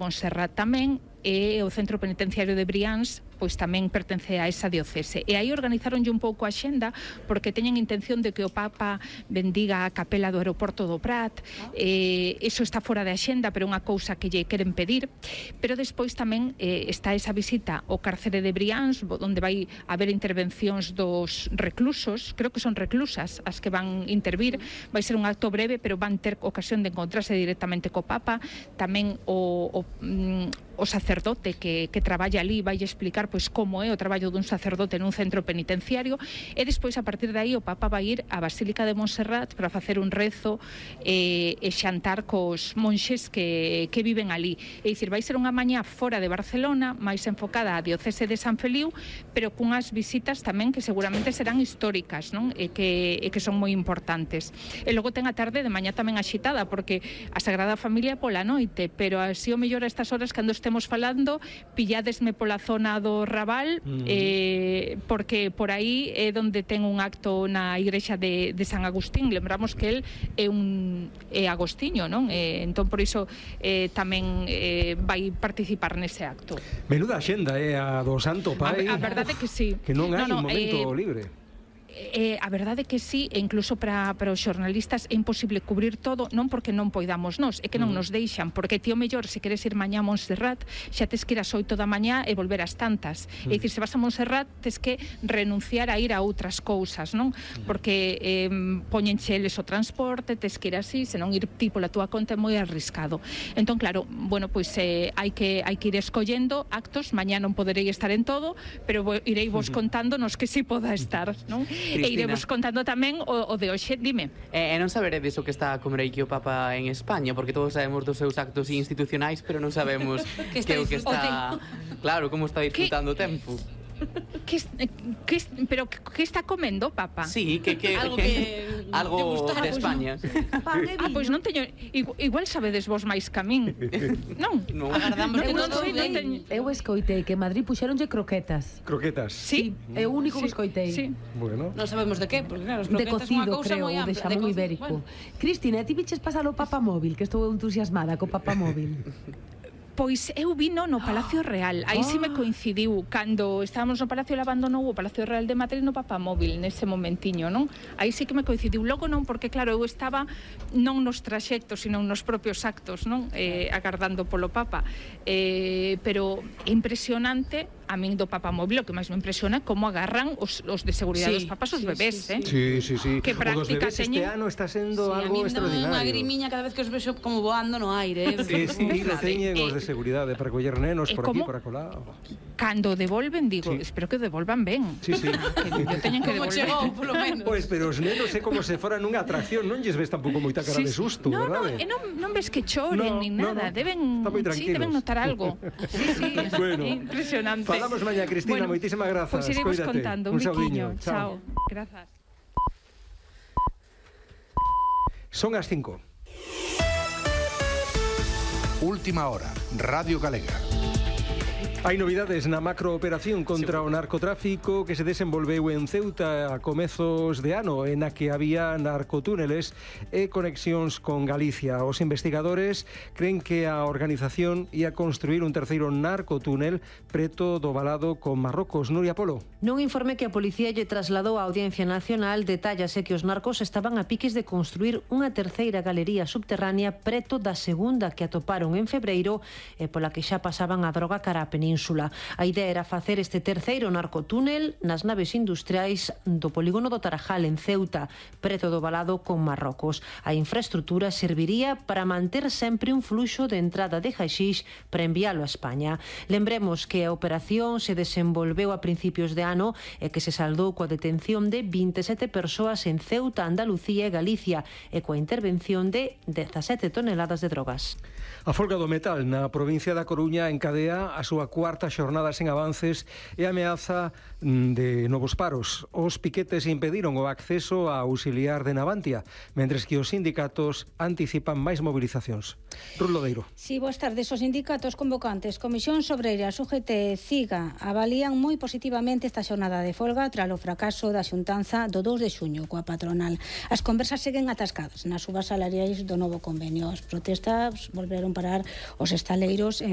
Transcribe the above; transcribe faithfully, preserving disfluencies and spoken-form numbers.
Montserrat tamén, e o Centro Penitenciario de Brians pois tamén pertence a esa diocese. E aí organizaronlle un pouco a xenda porque teñen intención de que o Papa bendiga a capela do aeroporto do Prat. Eh, eso está fora da xenda, pero é unha cousa que lle queren pedir. Pero despois tamén eh, está esa visita ao cárcere de Brians, onde vai haber intervencións dos reclusos, creo que son reclusas as que van intervir. Vai ser un acto breve, pero van ter ocasión de encontrarse directamente co Papa. Tamén o, o, o sacerdote que, que traballa ali vai explicar pois como é o traballo dun sacerdote nun centro penitenciario, e despois a partir de aí o Papa vai ir á Basílica de Montserrat para facer un rezo e, e xantar cos monxes que, que viven ali. É dicir, vai ser unha mañá fora de Barcelona, máis enfocada á diocese de San Feliu, pero cunhas visitas tamén que seguramente serán históricas, non? E que, e que son moi importantes. E logo ten a tarde de mañá tamén axitada, porque a Sagrada Familia pola noite, pero así o mellor a estas horas cando estemos falando, pilladesme pola zona do Raval, mm. eh, porque por aí é onde ten un acto na igrexa de, de San Agustín. Lembramos que el é un é agostiño, non? Eh, entón por iso eh, tamén eh, vai participar nese acto. Menuda xenda é eh, a do Santo Pai. A, a verdade que sí. Que non hai no, no, un momento eh, libre. Eh, a verdade que sí, e incluso para, para os xornalistas é imposible cubrir todo, non porque non poidamos nós, é que non nos deixan, porque ti o mellor, se queres ir mañá a Montserrat, xa tes que ir ás oito da mañá e volver ás tantas. Mm. É dicir, se vas a Montserrat, tes que renunciar a ir a outras cousas, non? Porque eh, poñenche eles o transporte, tes que ir así, senón ir ti pola túa conta é moi arriscado. Entón, claro, bueno, pois eh, hai que hai que ir escollendo actos, mañá non poderei estar en todo, pero irei vos contando nos que si poda estar, non? Cristina. E iremos contando tamén o, o de hoxe, dime. E eh, non saberedes o que está a comer aquí o Papa en España, porque todos sabemos dos seus actos institucionais, pero non sabemos que, que o que está... Claro, como está disfrutando o tempo. Que, que, pero que está comendo, Papa? Sí, que, que algo que algo de España. Ah, pois non teño, igual, igual sabedes vos máis que a min. Non. No. Agardamos que eu, non sei, non teño... eu escoitei que en Madrid puxeronlle croquetas. Croquetas. Sí, é o único sí, que escoitei. Sí. Bueno. Non sabemos de que, porque claro, as de croquetas é unha cocido, cousa creo, moi de ampla, xamón de ibérico. Bueno. Cristina, ti viches pasar o Papa Móvil, que estou entusiasmada co Papa Móvil. Pois eu vino no Palacio Real. Aí sí me coincidiu cando estábamos no Palacio, el abandonou o Palacio Real de Madrid no Papa Móvil nese momentiño, non? Aí sí que me coincidiu. Logo non, porque claro, eu estaba non nos traxectos, sino nos propios actos, non? Eh, agardando polo Papa. Eh, pero é impresionante a min do Papa Móvil, o que máis me impresiona é como agarran os, os de seguridade sí, dos papas os sí, bebés, sí, eh? Sí, sí, sí. Que práctica teñen. Este ano está sendo sí, algo extraordinario. A mí me dá unha grimiña cada vez que os vexo como voando no aire. Eh? Estilo teñen os de seguridade para coller nenos por aquí, por acolá. Cando devolven, digo, sí. espero que devolvan ben. Sí, sí. Que yo teñen que devolver. Como chegou, polo menos. Pois, pero os nenos é como se foran nunha atracción, non lles ves tampouco moita cara sí, de susto, no, verdade? No, non, non ves que choren, no, ni nada, no, no. deben, sí, deben notar algo. Sí, sí, bueno, impresionante. Falamos mañá, Cristina, bueno, moitísimas grazas. Pois pues iremos Cuídate. contando, un, un biquiño. Chao. Chao. Grazas. Son as cinco. Última hora, Radio Galega. Hai novidades na macrooperación contra o narcotráfico que se desenvolveu en Ceuta a comezos de ano, en a que había narcotúneles e conexións con Galicia. Os investigadores creen que a organización ia construir un terceiro narcotúnel preto do valado con Marrocos. Nuria Polo. Nun informe que a policía lle trasladou á Audiencia Nacional, detállase que os narcos estaban a piques de construir unha terceira galería subterránea preto da segunda que atoparon en febreiro e pola que xa pasaban a droga cara a península. A idea era facer este terceiro narcotúnel nas naves industriais do polígono do Tarajal en Ceuta, preto do valado con Marrocos. A infraestrutura serviría para manter sempre un fluxo de entrada de haxix para enviálo a España. Lembremos que a operación se desenvolveu a principios de ano e que se saldou coa detención de vinte e sete persoas en Ceuta, Andalucía e Galicia e coa intervención de dezasete toneladas de drogas. A folga do metal na provincia da Coruña encadea a súa cuarta xornada sen avances e ameaza de novos paros. Os piquetes impediron o acceso a auxiliar de Navantia, mentres que os sindicatos anticipan máis movilizacións. Ruth Lodeiro. Si, boas tardes. Os sindicatos convocantes Comisión Obreiras, U G T e CIGA avalían moi positivamente esta xornada de folga tras o fracaso da xuntanza do dous de xuño coa patronal. As conversas seguen atascadas nas subas salariais do novo convenio. As protestas volveron parar os estaleiros en